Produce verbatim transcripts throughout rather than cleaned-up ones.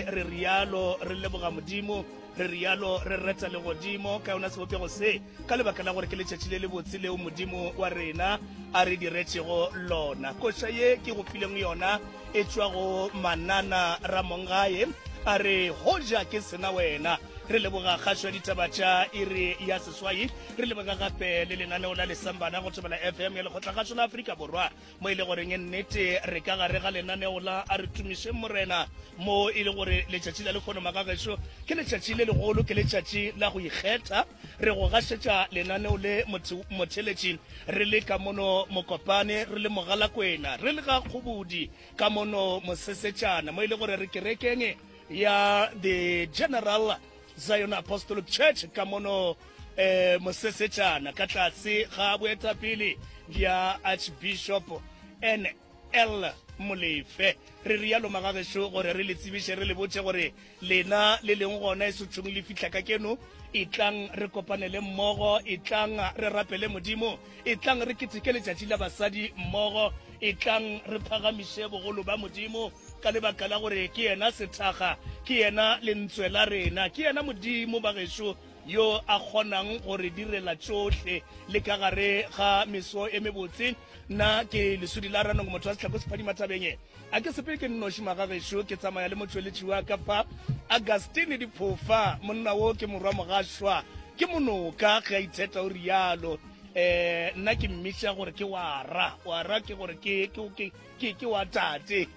Re rialo re leboga Modimo, re rialo re reta legodimo ka yona sebopego se, ka lebaka la gore ke letšatši le lebotse leo Modimo wa rena a re diretšego lona. Koša ye ke go fileng yona e tšwa go Manana Ramongae, a re, Hoja ke sena wena. Re leboga kgašo ya ditaba tša iri ya seswai, re leboga gape le lenaneo la Lesambana go Thobela F M ya Lekgotlakgašo la Afrika Borwa, mo e le goreng nnete re ka gare ga lenaneo la A Re Tumišeng Morena, mo e le gore letšatši la lehono magagešo ke letšatši le legolo, ke letšatši la go ikgetha. Re go gašetša lenaneo le motheletši re le ka mono Mokopane, re le Mogalakwena, re le ga Kgobodi ka mono Mosesetšana, mo e le gore re kerekeng ya The General Zion Apostolic Church ka mono eh, Mosesetšana, ka tlase ga boetapele bja Archbishop N L Molefe. Re rialo magagešo gore re le tsebiše, re le botše gore lena le leng gona e sotšhong le fihla ka keno, etlang re kopanele mmogo, etlang re rapele Modimo, etlang re keteke letšatši la basadi mmogo, etlang re phagamiše bogolo ba Modimo ka lebaka la gore ke yena sethaga, ke yena lentswe la rena, ke yena Modimo bagešo yo a kgonang go re direla tšohle le ka gare ga meso e mebotse. Nna ke Lesodi la Ranong, motho wa sehlako sephadima thabeng. A ke sepele ke nnoši magagešo, ke tsamaya le motšweletši wa ka fa, Augustine Diphofa. Monna wo ke morwa mogašwa, ke monoka ge a itheta o rialo. Eh, nna ke mmitša gore ke wara, wara ke gore ke, ke, ke, ke, ke wa tate.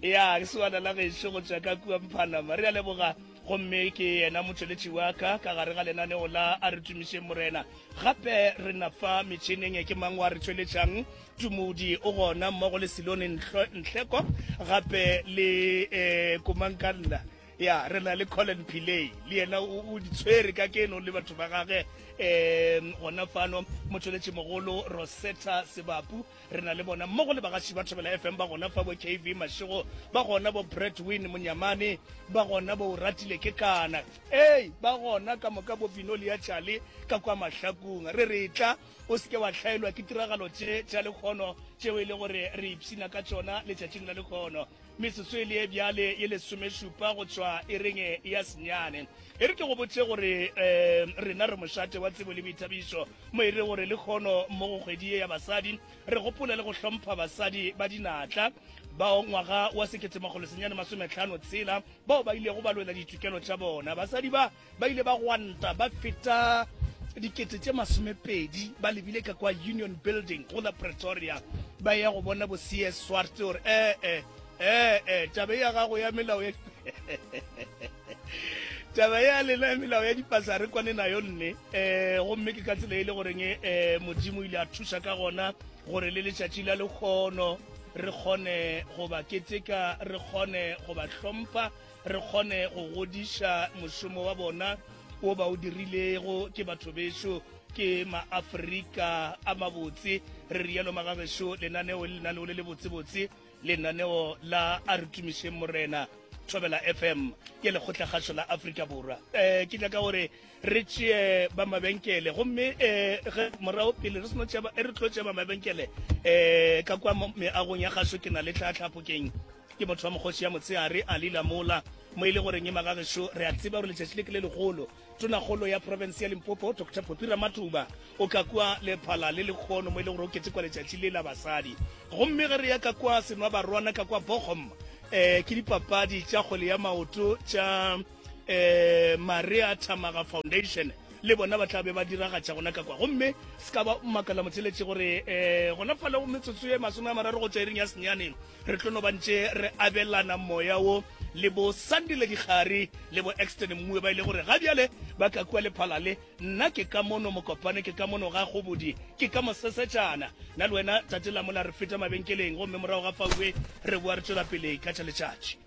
Ya, ke sewana la gešo go tšwa ka kua Mphanama. Re a leboga. Gomme ke yena motšweletši wa ka ka gare ga lenaneo la A Re Tumišeng Morena. Gape re na fa metšhineng ke mang wa re tšweletšang? Tumodi o gona mmogo le Silone Nhleko, gape le eh, Komankanna. Ya, re na le Colin Pillay, le yena o, o di tshwere ka keno le batho ba gage. Eh, gona fano motšweletši mogolo Rosetta Sebapu, re na le bona mmogo le bagaši ba Thobela F M ba gona fa, bo K V Mashego ba gona, bo Brett Win Monyamane ba gona, bo Ratile ke kana, ei ba gona ka moka, bo Vinolia Chale ka kwa Mahlakung. Re re tla o seke wa hlaelwa ke tiragalo tše tša lekgono tšeo e le gore re ipshina ka tšona letšatšing la lekgono. Metsotso e le ye bjale ye lesomešupa go tšwa ereng ya senyane. E re ke go botše gore um rena re mošate wa tsebo le boithabišo, mo e re gore lekgono mo go kgwedi ye ya basadi re gopola le go hlompha basadi ba dinatla bao ngwaga wa sekete makgolo senyane masometlhano tshela bao ba ilego ba lwela ditokelo tša bona. Basadi ba ba ile ba gwanta ba feta dikete tše masomepedi ba lebile ka kwa Union Building go la Pretoria, ba ya go bona bo C S Swart gore eh eh eh eh taba ya gago ya melao ya taba ya lena ya melao ya dipasa re kwane nayo nne. Eh, gomme ke ka tsela e le goreng eh Modimo ile a thuša ka gona gore le letšatši la lekgono re kgone go ba keteka, re kgone go ba hlompha, re kgone go godiša mošomo wa bona wo ba o dirilego. Ke batho bešo, ke maAfrika a mabotse. Re rialo magagešo, lenaneo le lenaneo le le botsebotse, lenaneo la A Re Tumišeng Morena, Thobela F M ke lekgotlakgašo la Afrika Borwa. Eh, ke nyaka gore re tšee ba mabenkele, gomme eh, ge morago pele re seno tšea ba, re tlo tšea ba mabenkele eh, ka kwa meagong ya kgašo. Ke na le tlhatlhapokeng, ke motho wa mokgoši ya motshehare a lila mola mo e le goreng e magagešo. Re a tseba gore letšatši le ke le legolo. Tonakgolo ya province ya Limpopo Doctor Phophi Ramatuba o ka kua lephala le lekgono mo e le gore o ketekwa letšatši le la basadi. Gomme ge re ya ka kua Senwabarwana ka kwa Bochum, eh, ke dipapadi tša kgwele ya maoto tša eh, Maria Thamaga Foundation, le bona ba tla be ba diragatša gona ka kwa. Gomme se ka ba makala motheletši gore eh, gona fale go metsotso ye masome a mararo go tšwa iring ya senyane re tlo no ba ntše re abelana moya wo le bo Sandile Dikgari le bo Exton Mmue ba ile gore ga bjale ba ka kua lephala le. Nna ke ka mono Mokopane, ke ka mono ga Kgobodi, ke ka Mosesetšana. Nna le wena tate Lamola re feta mabenkeleng, gomme morago ga faue re boa re tšwela pele ka tša letšatši.